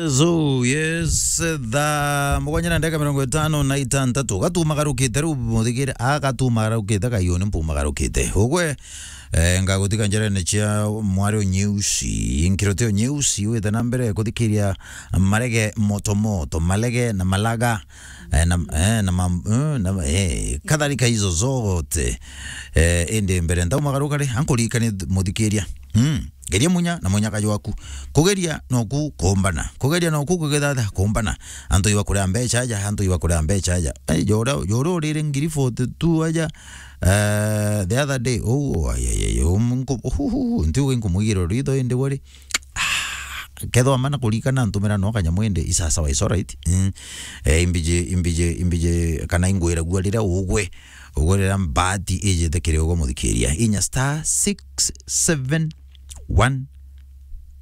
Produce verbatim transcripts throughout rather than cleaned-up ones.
So, yes, thaa mugwanja na ndagika mirongo itano na itantatu. Gatumagarukite riu muthikire, a gatumagarukite, kaiyo ni mpumagarukite. Ugwe, eh, ngagutika njerene cia mwari Unyeusi, nkiroti Unyeusi, wite na mbere kuthikiria marege moto moto, marege na malaga, eh, na, eh, na mam-, eh, na, eh, kadhalika hizo zote. Eh, indi mbere ntaumagaruka ri, ankuririkanie muthikiria. Mm. Geria munya na munyaka jwaku. Kugeria noku kumbana. Kugeria noku kugithatha kumbana. Antu iba kuria mbeca aja, antu iba kuria mbeca aja. Eh, jora, jora urire ngiri forty-two aja, eh, the other day. Oh, ai, ai, ai, oh, nku-, uhuhu, ntiuga inkumwigira ritho indi wari. Ah, kethwa mana kurikana ntumira no kanyamu indi isasawa, it's alright. Mm. Eh, imbije, imbije, imbije, kana ingwiragua riria ugwe, ugwe riria mbaati ijite kiri ugwe muthikiria. Inya star six seven one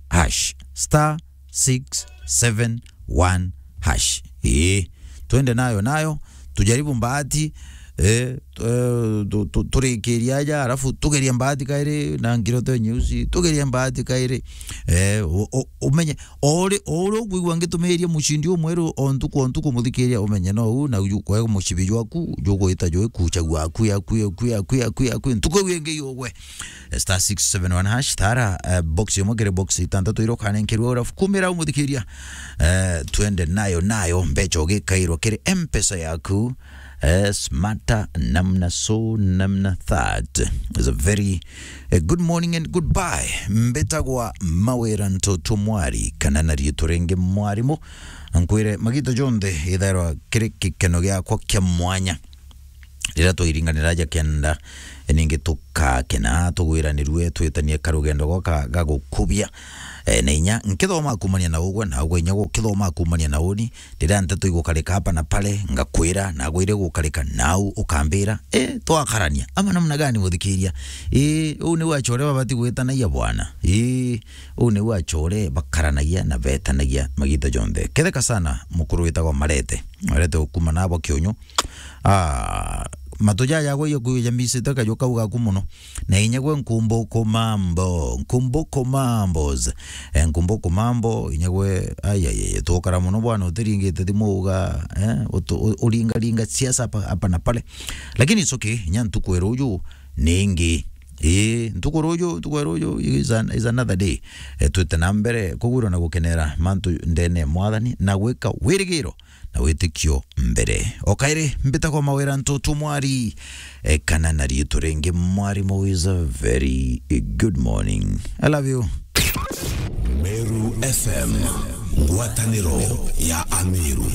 hash. Star six seven one hash. Ii, twende nayo, nayo, tujaribu mbaati, eh, tu-, eh, tu-, tu-, turikiria aja, alafu tugerie mbaati kairi, na ngiroto nyeusi, tugerie mbaati kairi. Eh, u-, u-, umenye, o uri, o uri ukwigua ngitumiria mucindi umweru o ntuku, o ntuku muthikiria, umenye no u, na uju, kwe mucibi jwaku, jugwita jwi kucha gwaku, yaku, yaku, yaku, yaku, yaku, ntuku iu ingi yugwe. Star six seven one hash, thara, eh, box imwe kiri box itantatu iria ukanenkerua, alafu kumira umuthikiria. Eh, twende nayo, nayo, mbeca ugikairwa kiri M-Pesa yaku. Eh, smarter namna so, namna that. It's a very, eh, good morning and goodbye. Mbitagwa Mawira Ntoto Mwari, kana na riitwa ringi Mwarimu. Nkwire, magito jonthe ithairwa kiri gikeno giakwa kia mwanya. Riria twairinganira aja kenda, ningi tukakena, tugwiranirue, twitanie karugendo goka ga gukubia. Eh, na inya nkithoma kumania na ugwe, na ugwe inya gukithoma kumania na uni, riria nteto igukarika hapa na pale, ngakwira, na gwire gukarika, nau ukambira, eh, twakarania. Ama namna gani, muthikiria? Eh, uu niu achore babati gwitanagia bwana. Eh, uu niu achore bakaranagia na betanagia magita jonthe. Ketheka sana, mukuru witagwa Marete. Marete ukuma nabo kiunyu. Ah, matu jaja gwe iyo kuja misite kaju kau gaku muno. Na inya gwe nkumbuku mambo, nkumbuku mambos. Eh, nkumbuku mambo, inya gwe, ai, ai, ai, tukara muno bwana, utiringite thimu uga, eh, utu-, u-, uringa ringa siasa hapa, hapa na pale. Lakini it's okay, inya ntuku ya ruju ningi. Ii, ntuku ruju, ntuku ya ruju is an-, is another day. Eh, twite na mbere kugwirwa na gukenera mantu ndene ya Mwathani na gwika wirigiro na witikio mbere. O kairi, mbitagwa Mawira Ntoto Mwari, eh, kana na riitwa ringi Mwarimu is a very good morning. I love you. Meru F M, ngwataniro ya Ameru.